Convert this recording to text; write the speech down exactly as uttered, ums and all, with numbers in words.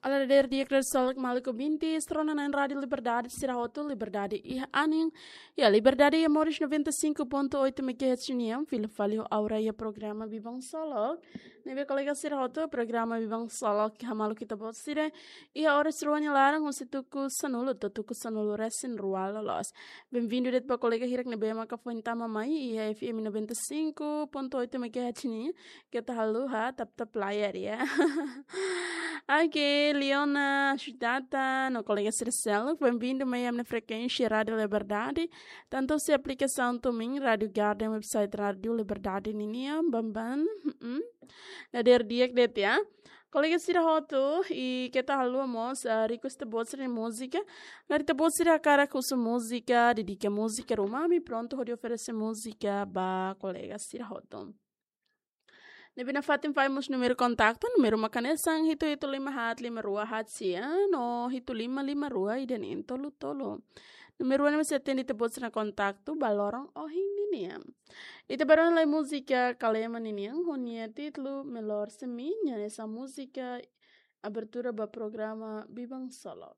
Dadeer di'ak, dadeer solok maluk ouvinte, sira rona na'in Rádio Liberdade, sira hotu, liberdade iha anin. Ya, liberdade iha moris noventa e cinco ponto oito megahertz nian, fila fali ho Aura iha programa Biban Solok. Ne'ebé kolega sira hotu, programa Biban Solok hamaluk ita-boot sira iha oras rua nia laran husi tuku sanulu to'o tuku sanulu resin rua loloos. Bem-vindo de'it ba kolega hirak ne'ebé maka foin tama mai iha F M noventa e cinco ponto oito megahertz nian. Keta haluha tap-tap layar ya. Oke, Leona Shutata, no kolega sira seluk, bem-vindo mai ami-nia frekuénsia Rádio Liberdade. Tanto husi aplikasaun TuneIn, Rádio Garden, website Rádio Liberdade ninian, bam bam. Mm-mm. Dadeer di'ak de'it ya. Kolega sira hotu, i keta haluha mós, ah, request ita-boot sira-nia múzika. Karik ita-boot sira hakarak husu múzika, dedika múzika ruma, ami prontu hodi oferese múzika ba kolega sira hotu. Ne'ebé nafatin fali mós númeru kontaktu, númeru mak hanesan hitu hitu lima haat lima rua haat sia, no hitu lima lima rua ida neen tolu tolu. Númeru ne'e mós sei atende ita-boot sira-nia kontaktu ba loron ohin ninian. Ita bá rona lai múzika Kalema ninian, ho nia títulu Melhor Sem Mim, hanesan múzika abertura ba programa Biban Solok.